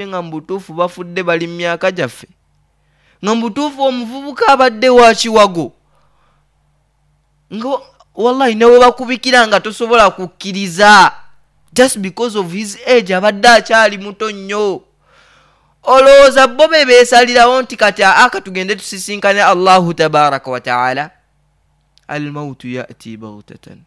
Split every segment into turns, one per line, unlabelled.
Nga mu butuufu bafudde bali mu myaka gyaffe, nga mu butuufu omuvubuka abadde wa kiwago, nga wallahi ne we bakubikira nga tosobola kukkiriza just because of his age, abadde akyali muto nnyo. Olowooza bo be beesalirawo nti kati aka tugende tusisinkane Allahu tabaraka wataala? Almautu yati baghtatan,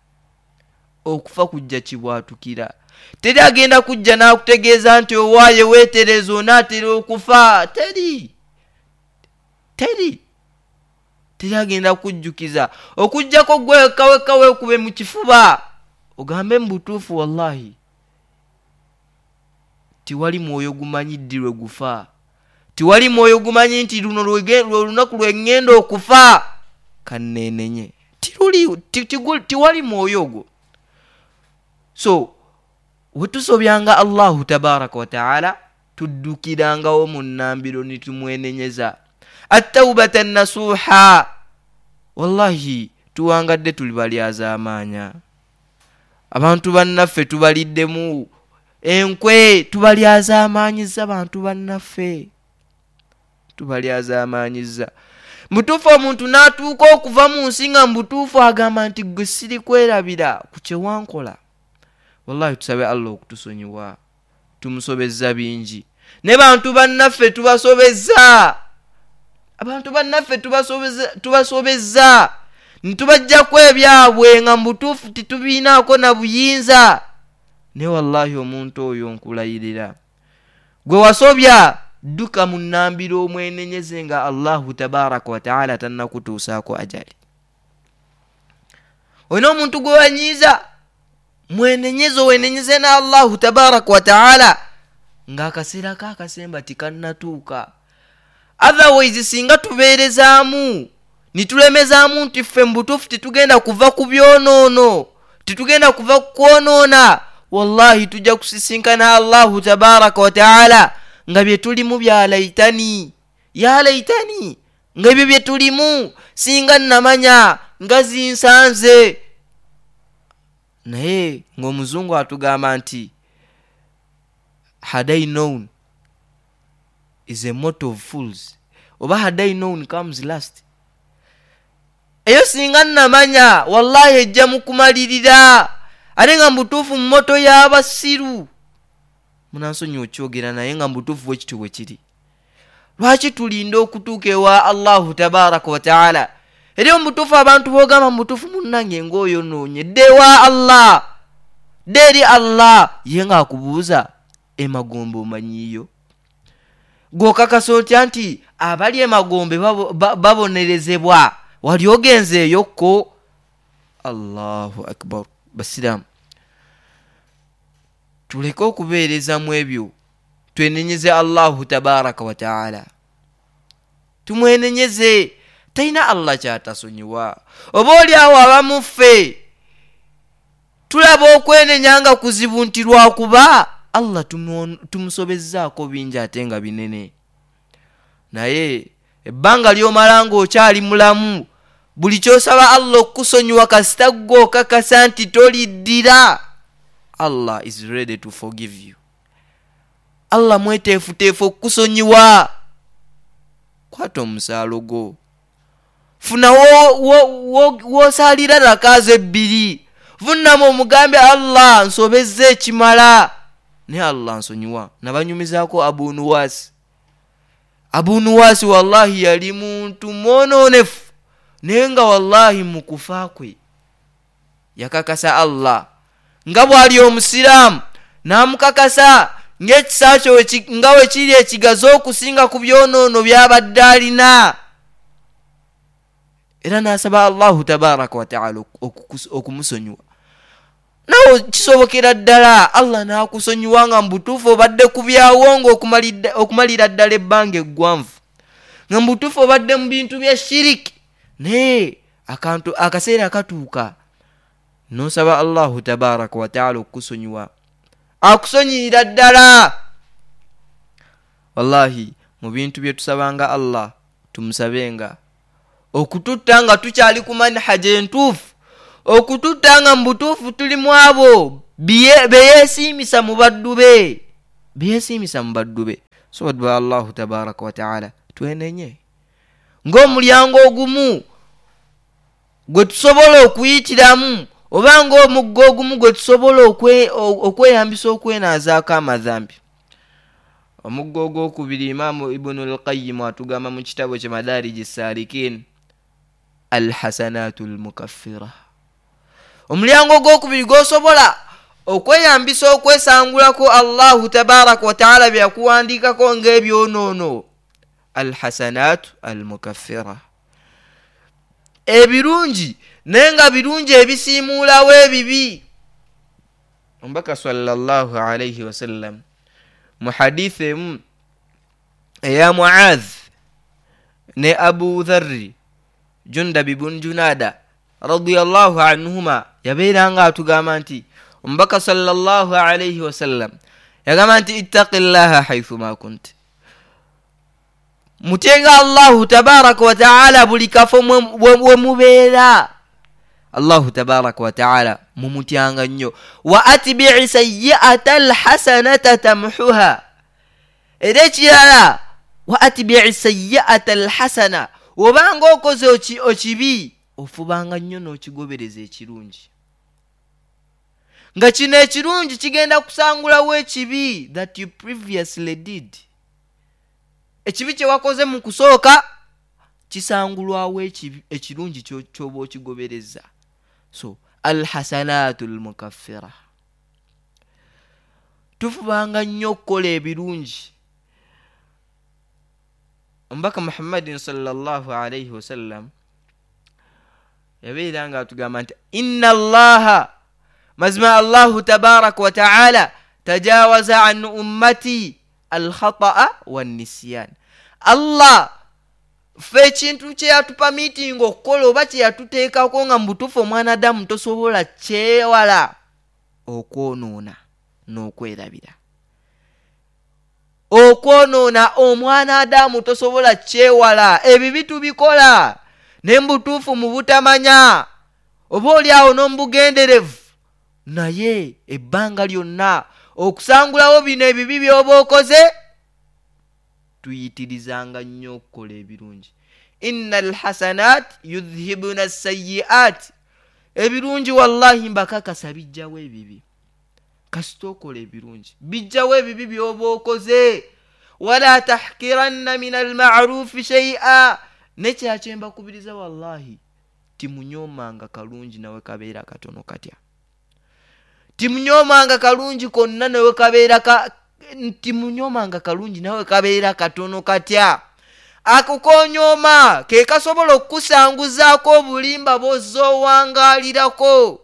okufa kujja kibwatukira. Teri agenda kujja n'akutegeeza nti owaaye weetereza, onaatera okufa. Teri, teri, teri agenda kujjukiza okuggyako gwe wekka wekka weekube mu kifuba ogambe mu butuufu, wallahi tiwali mwoyo gumanyi ddi lwe gufa, tiwali mwoyo gumanyi nti luno lwe lunaku lwe ŋŋenda okufa, kanneenenye. Tiwali mwoyo ogwo. So wetusobyanga Allahu tabaraka wataala, tuddukirangawo mu nnambiro ne tumwenenyeza attaubata nasuha. Wallahi tuwangadde tuli balyazaamaanya, abantu bannaffe tubaliddemu enkwe, tubalyazaamaanyiza, bantu bannaffe tubalyazaamaanyiza. Mutuufu omuntu n'atuuka okuva mu nsi nga mubutuufu agamba nti gwe sirikwerabira ku kyewankola. Wallahi tusabe Allah okutusonyiwa, tumusobezza bingi, ne bantu bannaffe tubasobezza, abantu bannaffe tubasobezza ntubajjako ebyabwe nga mubutuufu titubiinaako na buyinza. Naye wallahi omuntu oyo nkulayirira, gwe wasobya, dduka mu nnambiro omwenenyeze nga Allahu tabaraka wataala tannakutuusaako ajali. Olina omuntu gwe wanyiiza, mwenenyeze, owenenyeze ne Allahu tabaraka wataala ng'akaseera ka akasemba tikannatuuka. Otherwise singa tubeerezaamu nitulemezaamu nti ffe mu butuufu titugenda kuva ku byonoono, titugenda kuva ku kwonoona, wallahi tujja kusisinkana Allahu tabaraka wataala nga bye tulimu bya laitani ya laitani, nga ebyo bye tulimu singa namanya nga zinsanze. Naye ng'omuzungu atugamba nti "Had I known is a motto of fools", oba "Had I known comes last". Eyo singa namanya wallahi ejja mu kumalirira, ate nga mubutuufu mu motto y'abasiru. Munansonyiwa okyogera, naye nga mubutuufu bwe kityo bwe kiri. Lwaki tulinda okutuuka ewa Allahu tabaraka wataala? Eri omubutuufu abantu boogamba mubutuufu munnange ng'oyonoonye, dde ewa Allah, dde eri Allah. Ye ng'akubuuza emagombe omanyiiyo? Gw'okakasa otya nti abali emagombe babonerezebwa? Wali ogenzeeyokko? Allahu akbar. Basiraamu, tuleke okubeerezamu ebyo, twenenyeze Allahu tabaraka wataala, tumwenenyeze. Talina Allah kyatasonyiwa. Oba oli awo abamuffe tulaba okwenenya nga kuzibu nti lwakuba Allah tumusobezzaako bingi ate nga binene, naye ebbanga ly'omala ng'okyali mulamu, buli kyosaba Allah okukusonyiwa, kasita ggwe okakasa nti toliddira, Allah is ready to forgive you. Allah mweteefuteefu okukusonyiwa. Kwata omusaalo gwo, funa w'osaalira rakaazo ebbiri, vunnamu omugambe Allah nsobezza ekimala, naye Allah nsonyiwa. Nabanyumizaako Abu Nuwaasi. Abu Nuwaasi wallahi yali muntu mwonoonefu, naye nga wallahi mu kufa kwe yakakasa Allah nga bw'ali omusiraamu, n'amukakasa ng'ekisa kyo nga we kiri ekigazi okusinga ku byonoono by'abadde alina, era n'asaba Allahu tabaraka wataala okumusonyiwa. Nawe kisobokera ddala Allah n'akusonyiwa nga mu butuufu obadde ku byawo nga okumalira ddala ebbanga eggwanvu, nga mu butuufu obadde mu bintu bya shiriki, naye akantu akaseera katuuka n'osaba Allahu tabaraka wataala okukusonyiwa, akusonyiyira ddala. Wallahi mu bintu bye tusabanga Allah, tumusabenga okututta nga tukyali ku manhaja entuufu, okututta nga mu butuufu tuli mu abo beyeesiimisa mu baddu be. Byesiimisa mu baddu be. So baddu ba Allahu tabaraka wataala, twenenye ng'omulyango ogumu gwe tusobola okuyitiramu, oba ng'omugga ogumu gwe tusobola okweyambisa okwenaazaako amadhambi. Omugga ogwokubiri, Imaamu Ibunu Lqayimu atugamba mu kitabo kye Madariji Salikin, alhasanatu lmukaffira. Omulyango ogwokubiri gwosobola okweyambisa okwesangulako Allahu tabaraka wataala byeyakuwandiikako ng'ebyonoono, alhasanatu almukaffira, ebirungi, naye nga birungi ebisiimuulawo ebibi. Omubaka sallallahu alaihi wasallam mu hadithi emu eya Muadh ne Abu Dharri Jundabi bun Junada radiallahu anhuma, yabeera nga atugamba nti omubaka sallallahu alaihi wasallam yagamba nti ittaqi llaha haithuma kunt, mutyenga Allahu tabaraka wataala buli kafo we mubeera. Allahu tabaraka wataala mumutyanga nnyo. Wa atbii sayiata alhasanata tamhuha. Era ekirala, wa atbii sayiata alhasana, obanga okoze okibi, ofubanga nnyo n'okigobereza ekirungi, nga kino ekirungi kigenda kusangulawo ekibi that you previously did. Ekibi kye wakoze mu kusooka kisangulwawo ekirungi kyoba okigobereza. So alhasanatu lmukaffira, tufubanga nnyo okukola ebirungi. Omubaka Muhammadin sallallahu alaihi wasallam yabeera nga atugamba nti inna allaha, mazima Allahu tabaraka wataala, tajawaza an ummati alkhataa wannisyan. Allah ffe ekintu kyeyatupa miitingi okukola oba kyeyatuteekako nga mu butuufu omwana Adamu tosobola kyewala, okwonoona n'okwerabira. Okwonoona omwana Adamu tosobola kyewala, ebibi tubikola naye mubutuufu mu butamanya, oba oli awo n'omubugenderevu, naye ebbanga lyonna okusangulawo bino ebibi by'oba okoze, tuyitirizanga nnyo okukola ebirungi. Inna alhasanat yudhhibuna sayiat, ebirungi wallahi mbakakasa bijjawo ebibi. Kasita okola ebirungi, bijjawo ebibi by'oba okoze. Wala tahkiranna min almarufi shaia. Nekyakyembakubiriza, wallahi timunyoomanga kalungi nawe kabeera katono katya, timunyoomanga kalungi konna nawe kabeera timunyoomanga kalungi nawe kabeera katono katya. Ako konyooma ke kasobola okukusanguzaako obulimba bw'ozoowangalirako.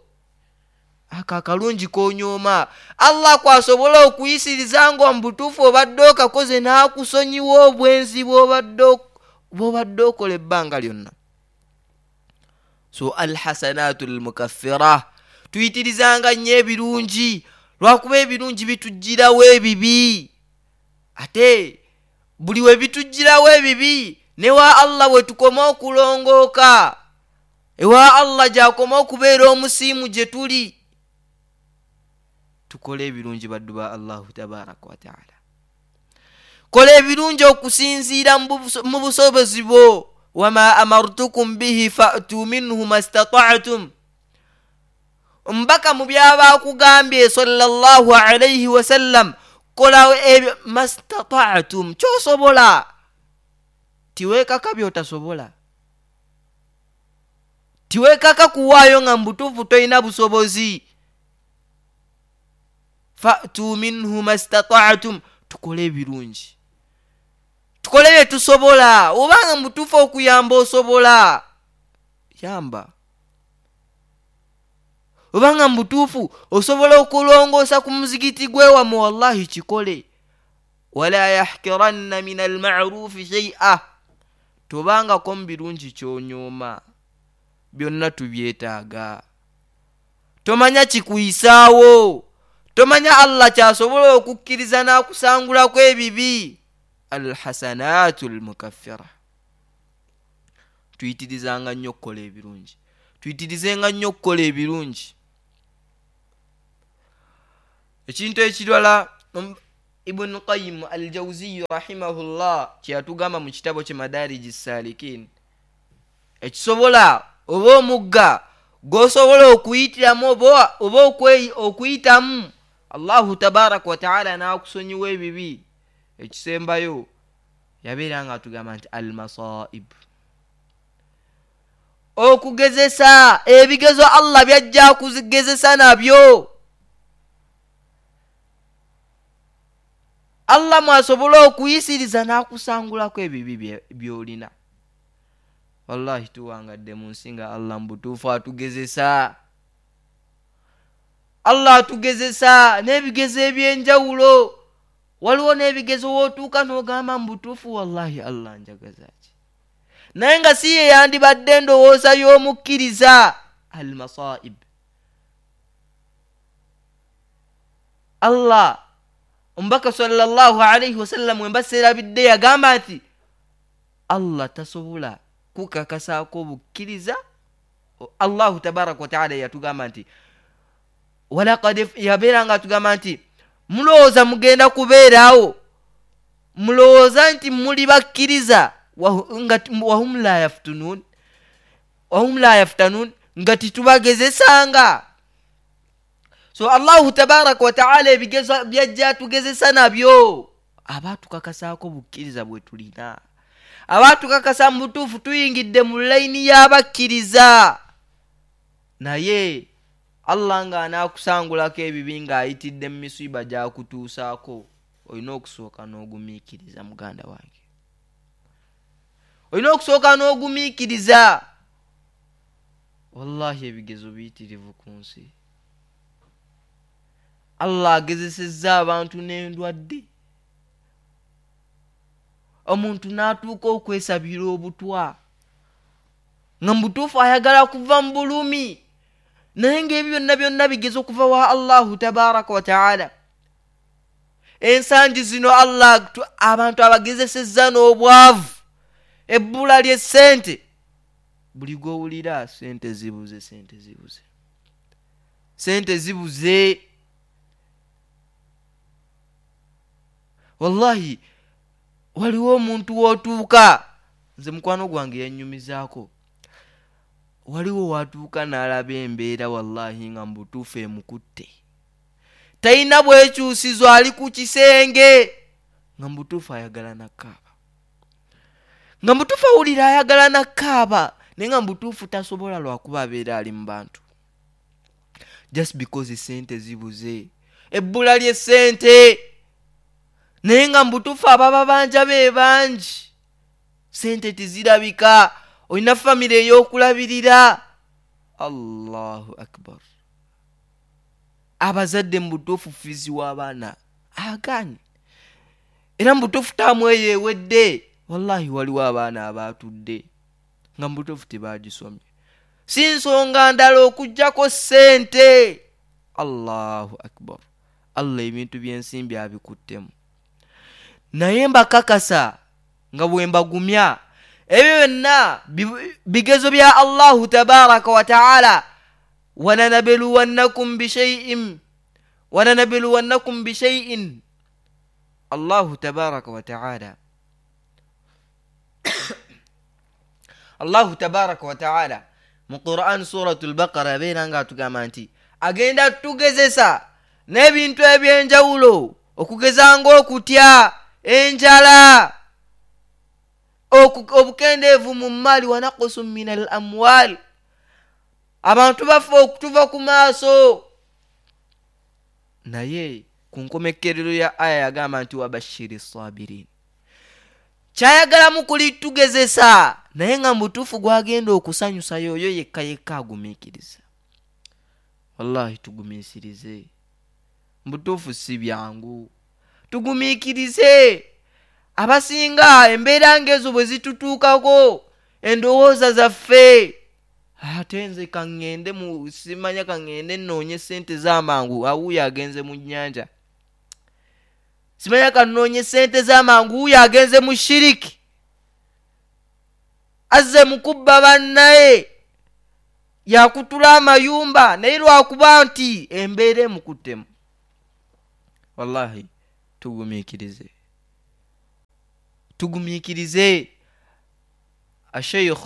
Ako akalungi konyooma, Allah kwasobola okuyisiriza nga mu butuufu obadde okakoze, n'akusonyiwa obwenzi bw'obadde okola ebbanga lyonna. So alhasanatu lmukaffira, tuyitirizanga nnyo ebirungi, lwakuba ebirungi bitugirawo ebibi, ate buli we bitugirawo ebibi, newa Allah bwe tukoma okulongooka, ewa Allah gyakoma okubeera omusiimu gye tuli. Tukole ebirungi, baddu ba Allahu tabaraka wataala. Kola ebirungi okusinziira mu busobozi bwo. Wama amartukum bihi fatu minhu mastataatum. Omubaka mu byaba akugambye sallallahu alaihi wasallam, kola ebyo mastataatum, kyosobola. Tiweekaka byotasobola, tiweekaka kuwaayo nga mubutuufu tolina busobozi. Fatu minhu mastataatum, tukole ebirungi, tukole bye tusobola. Obanga mubutuufu okuyamba osobola, yamba. Obanga mubutuufu osobola okulongoosa ku muzigiti gwewamu, wallahi kikole. Wala yahkiranna min almarufi shaia, tobangako mu birungi kyonyooma, byonna tubyetaaga. Tomanya kikuyisaawo, tomanya Allah kyasobola okukkiriza n'akusangulako ebibi. Alhasanatu lmukaffira, tuyitirizanga nnyo okukola ebirungi, tuyitirizenga nnyo okukola ebirungi. Ekintu ekirala, Ibunu Qayimu Al Jauziyu rahimahullah kyeyatugamba mu kitabo kye Madariji Salikin, ekisobola oba omugga gwosobola okuyitiramu oba okuyitamu Allahu tabaraka wataala n'akusonyiwa ebibi, ekisembayo yabeera nga atugamba nti al masaib, okugezesa ebigezo Allah byajja kuzigezesa nabyo, Allah mwasobola okuyisiriza n'akusangulako ebibi by'olina. Wallahi tuwangadde mu nsi nga Allah mu butuufu atugezesa, Allah atugezesa n'ebigezo eby'enjawulo. Waliwo n'ebigezo w'otuuka n'ogamba mu butuufu wallahi Allah njagaza ki, naye nga si ye yandibadde endowooza y'omukkiriza. Al masaib, Allah omubaka sallallahu alaihi wasallam wemba seerabidde yagamba nti Allah tasobola kukakasaako obukkiriza. Allahu tabaraka wataala yatugamba nti walakad, yabeera nga atugamba nti mulowooza mugenda kubeerawo, mulowooza nti muli bakkiriza wahum la yaftunun, wahum la yaftanun, nga titubagezesanga. So Allahu tabaraka wataala ebigezo byajja tugezesa nabyo aba tukakasaako bukkiriza bwe tulina, aba tukakasa mu butuufu tuyingidde mu layini y'abakkiriza. Naye Allah ng'anaakusangulako ebibi ng'ayitidde mu misiiba gy'akutuusaako, olina okusooka n'ogumiikiriza muganda wange, olina okusooka n'ogumiikiriza. Wallahi ebigezo biyitirivu ku nsi. Allah agezesezza abantu n'endwadde, omuntu n'atuuka okwesabira obutwa nga mu butuufu ayagala kuva mu bulumi, naye ng'ebyo byonna byonna bigezo okuva wa Allahu tabaraka wataala. Ensangi zino Allah abantu abagezesezza n'obwavu, ebbula ly'essente, buli gw'owulira sente zibuze, sente zibuze, sente zibuze. Wallahi waliwo omuntu w'otuuka, nze mukwano gwange yannyumizaako, waliwo watuuka n'alaba embeera wallahi nga mu butuufu emukutte, talina bwekyusizo, ali ku kisenge nga mu butuufu ayagala nakkaaba, nga mu butuufu awulira ayagala nakkaaba, naye nga mu butuufu tasobola lwakuba abeera ali mu bantu, just because sente zibuze, ebbula ly'essente. Naye nga mu butuufu ababa banja be bangi, sente tezirabika, olina famire ey'okulabirira. Allahu akbar. Abazadde mu butuufu fizi w'abaana agaanye, era mu butuufu taamu eyo ewedde. Wallahi waliwo abaana abaatudde nga mu butuufu tebagisomye, si nsonga ndala okuggyako ssente. Allahu akbar. Allah ebintu by'ensimbi abikuttemu, naye mbakakasa nga bwe mbagumya ebyo byonna bigezo bya Allahu tabaraka wataala. Walanabluwannakum bishaiin, walanabluwannakum bishaiin. Allahu tabaraka wataala, Allahu tabaraka wataala mu Quran Suratu Lbaqara abeera nga atugamba nti agenda tugezesa n'ebintu ebyenjawulo, okugeza ng'okutya, enjala, obukendeevu mu mmaali, wanakusu min al amwal, abantu bafa okutuva ku maaso. Naye ku nkomekkerero ya aya yagamba nti wabashiri sabirin, kyayagalamu kuli tugezesa, naye nga mu butuufu gwagenda okusanyusa yoyo yekka yekka agumiikiriza. Wallahi tugumiikirize, mu butuufu si byangu, tugumiikirize. Abasinga embeera ng'ezo bwe zitutuukako endowooza zaffe, ate nze kaŋŋende mu simanya, kaŋŋende nnoonye ssente z'amangu, awuuyo agenze mu nnyanja, simanya kannoonye ssente z'amangu, wuuyo agenze mu shiriki, azze mu kubba bannaye, yakutula amayumba, naye lwakuba nti embeera emukuttemu. Wallahi Tugumiikirize, tugumiikirize. Asheikh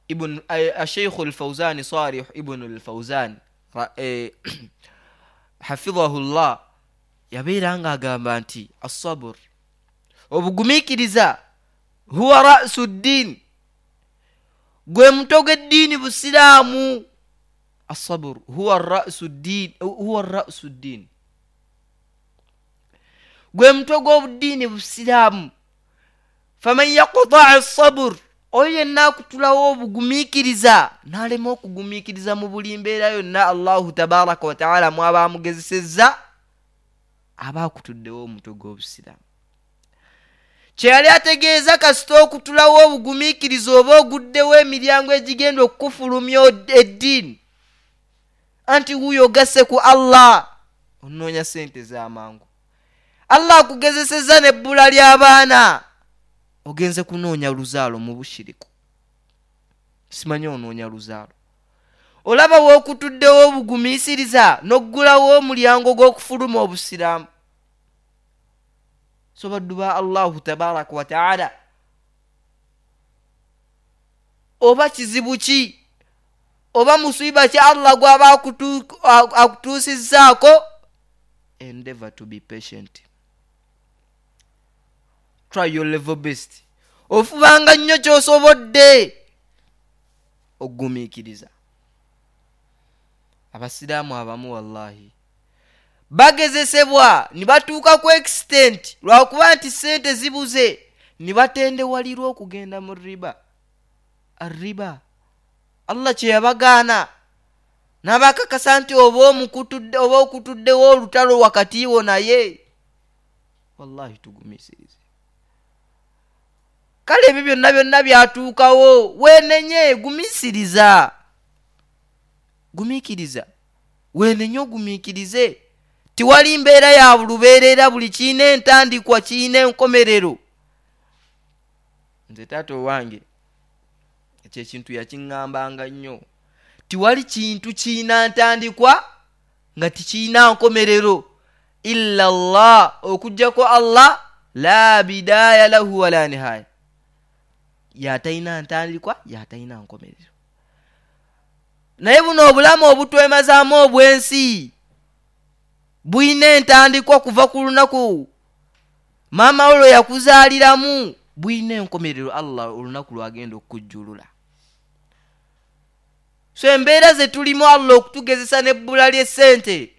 ibn Asheikhu Lfauzani, Salih Ibunu Lfauzani hafidhahu llah, yabeera nga agamba nti assabur, obugumiikiriza, huwa rasu ddin, gwe mutwe gw'eddiini busiraamu. Assabur huwa rasu ddin, huwa rasu ddin, gwe mutwe gw'obuddiini busiraamu. Faman yakutaa sabur, oyo yenna akutulawo obugumiikiriza n'alema okugumiikiriza mu buli mbeera yonna Allahu tabaraka wataala mwaba amugezesezza, aba akutuddewo omutwe gw'obusiraamu. Kye yali ategeeza, kasita okutulawo obugumiikiriza oba oguddewo emiryango egigenda okukufulumya eddiini, anti wuuyo ogasse ku Allah. Onoonya sente z'amangu, Allah akugezesezza n'ebbula ly'abaana, ogenze kunoonya luzaalo mu bushiriku, simanyi onoonya luzaalo. Olaba wookutuddewo obugumiisiriza n'oggulawo omulyango gw'okufuluma obusiraamu. So baddu ba Allahu tabaraka wataala, oba kizibu ki oba musiba ki Allah gw'aba akutuusizzaako, endeavor to be patient, try your level best, ofubanga nnyo ky'osobodde okugumiikiriza. Abasiraamu abamu wallahi bagezesebwa ne batuuka ku extent lwakuba nti sente zibuze, ne batendewalirwa okugenda mu riba. Arriba Allah kye yabagaana n'abakakasa nti oba omukutudde oba okutuddewo olutalo wakati wo naye. Wallahi tugumiisirize. Kale ebyo byonna byonna byatuukawo, weenenye, gumiisiriza, gumiikiriza, weenenye, ogumiikirize. Tiwali mbeera ya bulubeerera, buli kiina entandikwa kiina enkomerero. Nze taata owange ekyo ekintu yakiŋŋambanga nnyo, tiwali kintu kiina ntandikwa nga tikiina nkomerero illa llah, okugjako Allah, la bidaya lahu wala nihaya, yatalina ntandikwa yatalina nkomerero. Naye buno obulamu obutwemazaamu obw'ensi bulina entandikwa kuva ku lunaku maama wo lwe yakuzaaliramu, bulina enkomerero Allah olunaku lwagenda okukujjulula. So embeera ze tulimu, Allah okutugezesa n'ebbula ly'essente,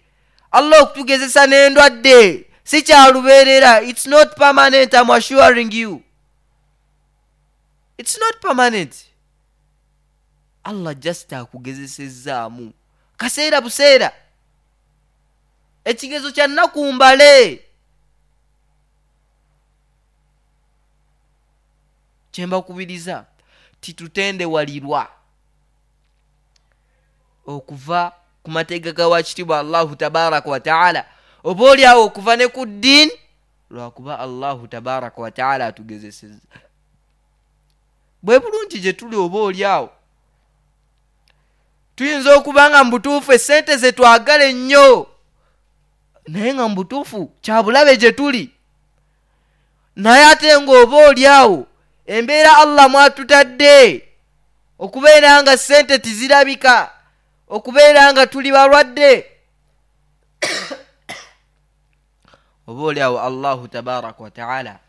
Allah okutugezesa n'endwadde, si kyalubeerera. It's not permanent, am assuring you, it's not permanent. Allah just akugezesezzaamu kaseera buseera, ekigezo kya nnaku mbale. Kyembakubiriza, titutendewalirwa okuva ku mateeka ga wakitiibwa Allahu tabaraka wataala, oba oli awo okuva ne ku ddiini lwakuba Allahu tabaraka wataala atugezesezza. Bwe bulungi gye tuli, oba oli awo tuyinza okuba nga mu butuufu esente ze twagala ennyo, naye nga mu butuufu kyabulabe gye tuli. Naye ate ng'oba oli awo embeera Allah mwatutadde okubeera nga sente tizirabika, okubeera nga tuli balwadde, oba oli awo Allahu tabaraka wataala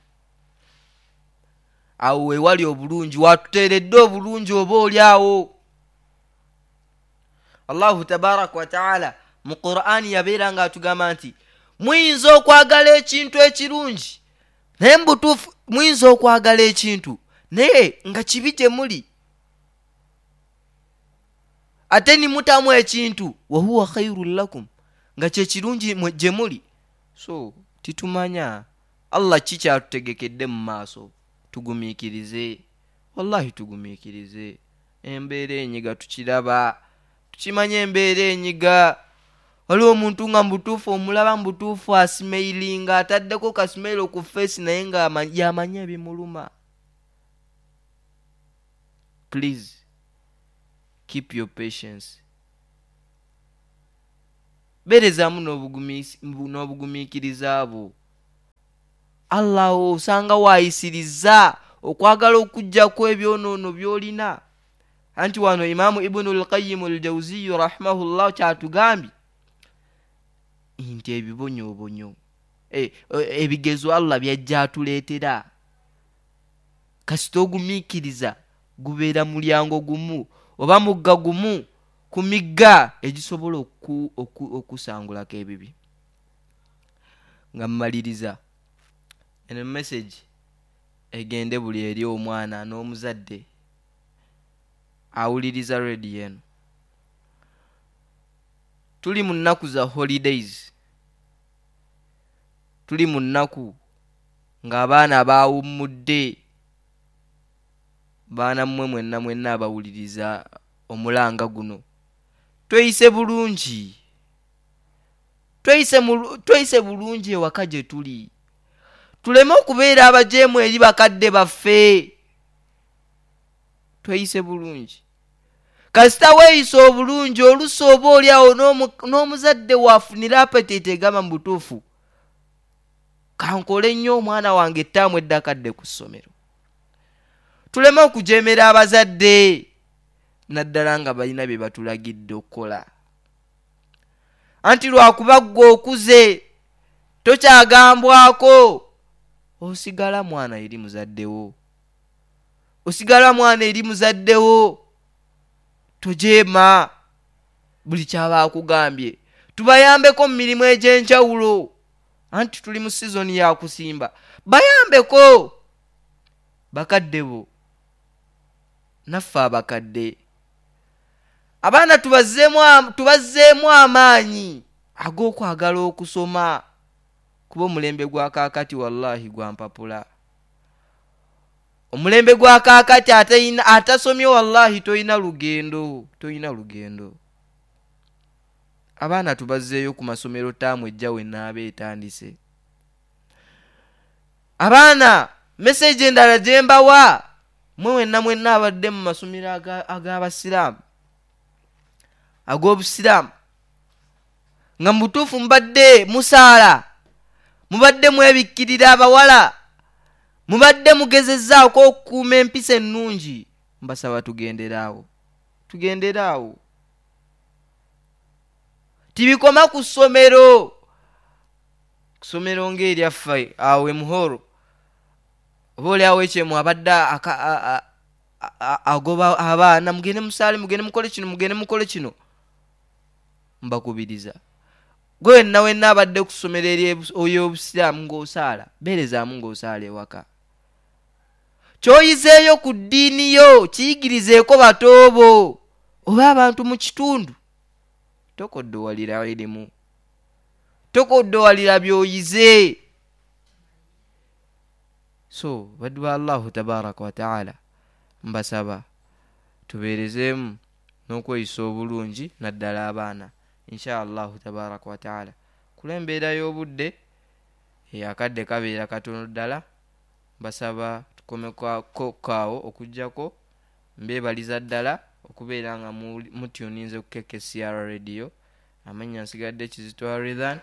awo wewali obulungi, watuteeredde obulungi. Oba oli awo Allahu tabaraka wataala mu Qur'ani yabeera nga atugamba nti muyinza okwagala ekintu ekirungi, naye mu butuufu muyinza okwagala ekintu naye nga kibi gye muli, ate nimutamu ekintu wahuwa khairun lakum, nga kyekirungi gye muli. So titumanya Allah ki kyatutegekedde mu maaso. Tugumiikirize, wallahi tugumiikirize. Embeera enyiga tukiraba, tukimanya embeera enyiga. Waliwo omuntu nga mubutuufu omulaba mubutuufu asmailinga, ataddeko kasmailo ku face, naye nga yamanyi ebimuluma. Please keep your patience. Beerezaamu n'obugumiikiriza bwo. Allah osanga waayisiriza okwagala okuggyako ebyonoono by'olina. Anti wano Imaamu Ibunu Lqayimu Ljauziyu rahimahullah kyatugambye nti ebibonyoobonyo, ebigezo Allah byajja atuleetera, kasita ogumiikiriza gubeera mulyango gumu oba mugga gumu ku migga egisobola okusangulako ebibi. Nga mmaliriza, eno message egende buli eri omwana n'omuzadde awuliriza rediyo eno. Tuli mu nnaku za holidays, tuli mu nnaku ng'abaana baawummudde. Baana mmwe mwenna mwenna abawuliriza omulanga guno, tweyise bulungi, tweyise bulungi ewaka gye tuli, tuleme okubeera abajeemu eri bakadde baffe. Tweyise bulungi. Kasita weeyisa obulungi, oluusi oba oli awo n'omuzadde waafunira apetite egamba mu butuufu kankole nnyo omwana wange ettaamu eddakadde ku ssomero. Tuleme okujeemera abazadde, naddala nga balina bye batulagidde okukola. Anti lwakuba ggwe okuze tokyagambwako, osigala mwana eri muzaddewo, osigala mwana eri muzaddewo. Tojeema buli kyaba akugambye. Tubayambeko mu mirimu egy'enjawulo, anti tuli mu sizoni ya kusimba. Bayambeko bakadde bo, naffe abakadde. Abaana tubazzeemu amaanyi ag'okwagala okusoma, kuba omulembe gwa kaakati wallahi gwa mpapula. Omulembe gwa kaakati atasomye wallahi toyina lugendo, toyina lugendo. Abaana tubazzeeyo ku masomero ttaamu ejja we naaba etandise. Abaana, meseji endala gye mbawa mwe mwenna mwenna abadde mu masomero ag'abasiraamu, ag'obusiraamu, nga mu butuufu mubadde musaala, mubadde mwebikkirira abawala, mubadde mugezezzaako okukuuma empisa ennungi, mbasaba tugenderaawo, tugenderaawo. Tibikoma ku ssomero, ku ssomero ng'eryaffe awo e Muhoro, oba oli awo ekyemu abadde agoba abaana, mugende musaale, mugende mukole kino, mugende mukole kino. Mbakubiriza gwe wenna wenna abadde ku ssomero ery'obusiraamu ng'osaala, beerezaamu ng'osaala ewaka. Ky'oyizeeyo ku ddiini yo kiyigirizeeko batoobo oba abantu mu kitundu. Tokoddowalira irimu, tokoddowalira by'oyize. So baddu ba Allahu tabaraka wa taala, mbasaba tubeerezeemu n'okweyisa obulungi naddala abaana, insha Allahu tabaraka wa taala. Kula embeera y'obudde, akadde kabeera katono ddala, mbasaba tukomeko awo okuggyako mbeebaliza ddala okubeera nga mutuninze ku KKCR Radio. Amannya nsigadde Kizito Harithan,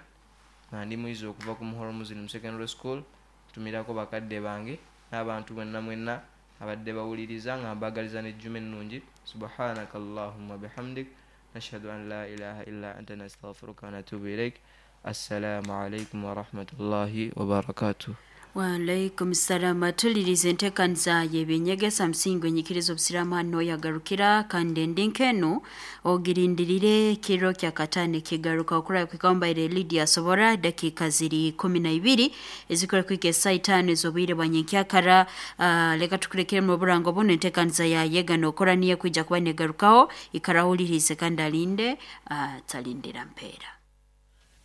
nga ndi muyizi okuva ku Muhoro Muslim Secondary School. Ntumirako bakadde bange n'abantu mwenna mwenna abadde bawuliriza, nga mbagaliza n'ejjuma ennungi. Subhanaka Allahumma bihamdik, nashhadu an la ilaha illa anta, nastaghfiruka wa natubu ilaik. Assalamu alaikum warahmatullahi wabarakatuh.
Waalaikum salama. Tuliriza entekaniza y'ebyenyegesa musingi enyikiriza obusiraamu hano yagarukira, kandi endi nkenu ogirindirire kiro kya katano kigaruka okura kwikambaire Lydia Sobora. Dakika ziri 12 ezikora kwika esaa 5 ez'obwire bwa nyenkyakara. Leka tukurekere mu burango buno, entekaniza ya yega nokora niyo kwija kuba negarukaho. Ikarawulirize kandi alinde, talindira mpeera.